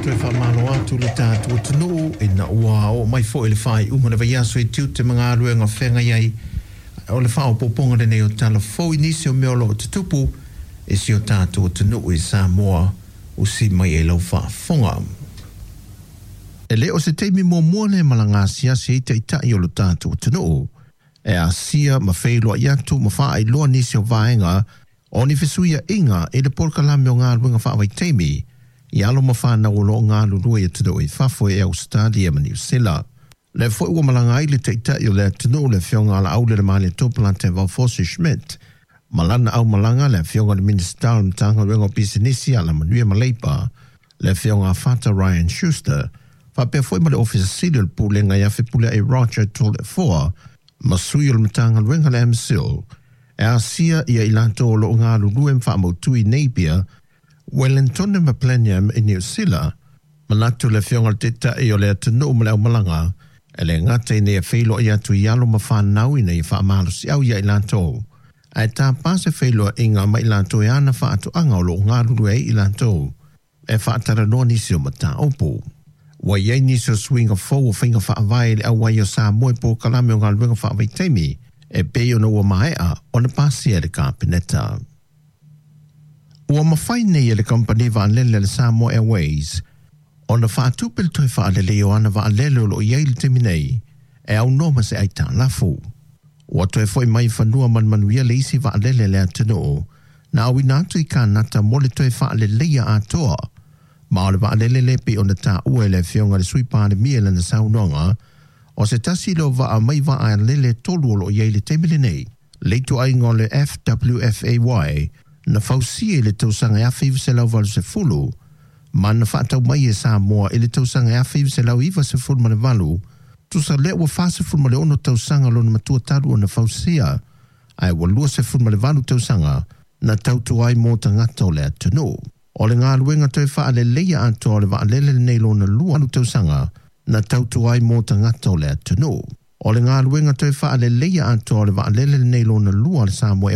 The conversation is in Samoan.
Toe faamalo atu le tatou atunuu ina ua oo mai foi le faaiuga o le vaiaso i tiute ma galuega feagai ai o le faaopoopoga lenei o tala fou i nisi o mea o lo o tutupu i si o tatou atunuu i Samoa usi mai ai lau faafofoga. E le o se taimi muamua lea e malaga asiasi ai taitai o lo tatou atunuu e asia ma feiloai atu ma faailoa nisi o vaega o ni fesuiaiga i le polokalame o galuega faavaitaimi i alo ma fanau o lo o galulue i atunuu i fafo i Ausetalia ma Niu Sila. Lea foi ua malaga ai le Taitai o le atunuu le Afioga a Laaulialemalietoa Polataivao Fosi Schmidt ma lana aumalaga le Afioga i le Minisita o le Matagaluega o Pisinisi, Alamanuia ma Leipa, le Afioga a Fata Ryan Schuster, faapea foi ma le Ofisa Sili o le Pulega ia Fepuleai Roger Toleafoa ma sui o le Matagaluega le MCIL e asia ia i latou o lo o galulue ma faamautu i Napier, Wellington ma Blenheim i Niu Sila. Manatu le Afioga i le Taitai o le atunuu ma le aumalaga, e le gata ina ia feiloai atu i alo ma fanau ina ia faamalosiau ia i latou, ae tapa se feiloaiga ma i latou e ana faatoaga o lo o galulue ai i latou e faatalanoa nisi o mataupu. Ua i ai nisi o suiga fou o faiga faavae i le auai o Samoa i polokalame o galuega faavaitaimi e pei ona ua maea ona pasia e le Kapeneta. Ua mafai nei e le kamupani vaalele a le Samoa Airways ona faatupe le toe faaleleia o ana vaalele o lo o i ai i le taimi nei e aunoa ma se aitalafu. Ua toe foi mai i fanua ma le manuia le isi vaalele a le atunuu na auina atu i Kanata mo le toe faaleleia atoa. Ma o le vaalele lea pei ona taua e le Afioga i le Sui Palemia i lana saunoaga, o se tasi lea o vaa mai vaalele e tolu o lo o i ai i le taimi lenei, le ituaiga o le FWFAY na fausia i le tausaga 1980 ma na faatau mai e Samoa i le tausaga 1998, tusa lea ua 46 tausaga lona matua talu ona fausia, ae ua 28 tausaga na tautua ai mo tagata o le atunuu. O le galuega toe faaleleia atoa o le vaalele lenei lona lua tausaga na tautua ai mo tagata o le atunuu. O le galuega toe faaleleia atoa o le vaalele lenei lona lua a le Samoa.